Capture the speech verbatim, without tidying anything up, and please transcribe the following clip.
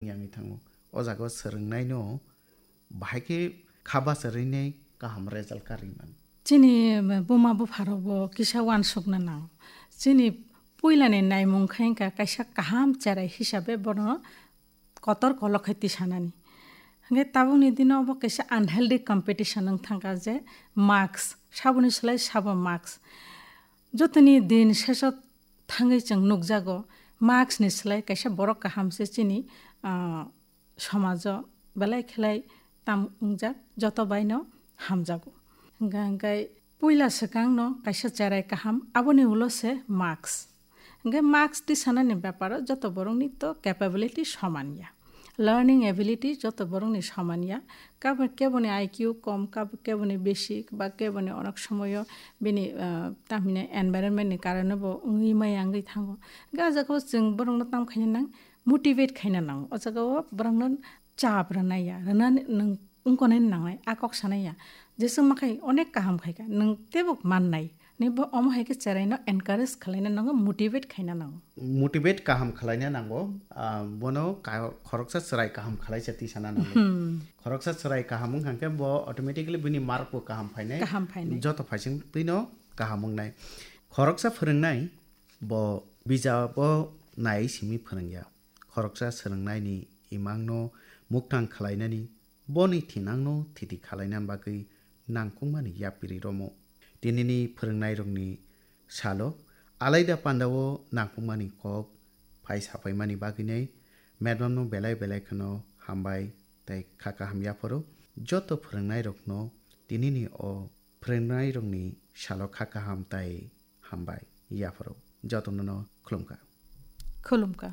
yangwi thango. O jaga o swrwngnaino bahai khe kha bacharainai kaham result karwi mano. Chini buma bupharokbo kisa uansukna nango. Chini puilani naimung khe wngkha kaisa kaham cherai hisabe bono kotor kolok khai tisanani. Hwnkhe tabukni dino obo kaisa unhealthy competition wng thangkha je marks, saboni slai sabo marks. Jotoni din seso thangwi chwng nukjago, marks ni slai kaisa borok kaham se chini, ah, somajo belai khelai tam wngjak, joto baino hamjago. Hwnkha hwnkhe puila swkangno kaisa cherai kaham, aboni ulo se marks. Hwnkhe marks tisanani beparo joto borokni to capability soman ya. Learning ability joto borokni soman ya. Kabo-, keboni I Q kom, kabo-, keboni basic, ba keboni onek somoyo bini, ah, tamhine environment ni karano bo wngwi maya wngwi thango. Hwnkhe o jaga o chwng borokno tam khaina nang, motivate khaina nango. O jaga o borokno chap rwnai ya, rwnani nwng wngkonai nangnai, a kok sanai ya. Jeswk ma khai onek kaham khai kha, nwng teibo mannai. Ni bo omo hai khe cheraino encourage khwlaina nango, motivate khaina nango. Motivate kaham khwlaina nango, ah, bono ka-, khoroksa chwrai kaham khwlaisa tisana nango. Hmm. Khoroksa chwrai kaham wngkha khe bo automatically bini mark bo kaham phainai. Kaham phainai. Joto phaising twino kaham wngnai. Khoroksa phwrwngnai bo bijabo nai simi phwrwngya. Khoroksa swrwngnaini imangno muktang khwlainani, boni thinangno thiti khwlaina bagwi nangkukmani yapiri romo. Tinini phwrwngnairokni salo alaida pandao nangkukmani kok phai sapaimani bagwinai madamno belai belai kheno hambai tei kha kaham yapharo. Joto phwrwngnairokno tinini o phwrwngnairokni salo kha kaham tei hambai yapharo. Jotono no khulumkha. Khulumkha.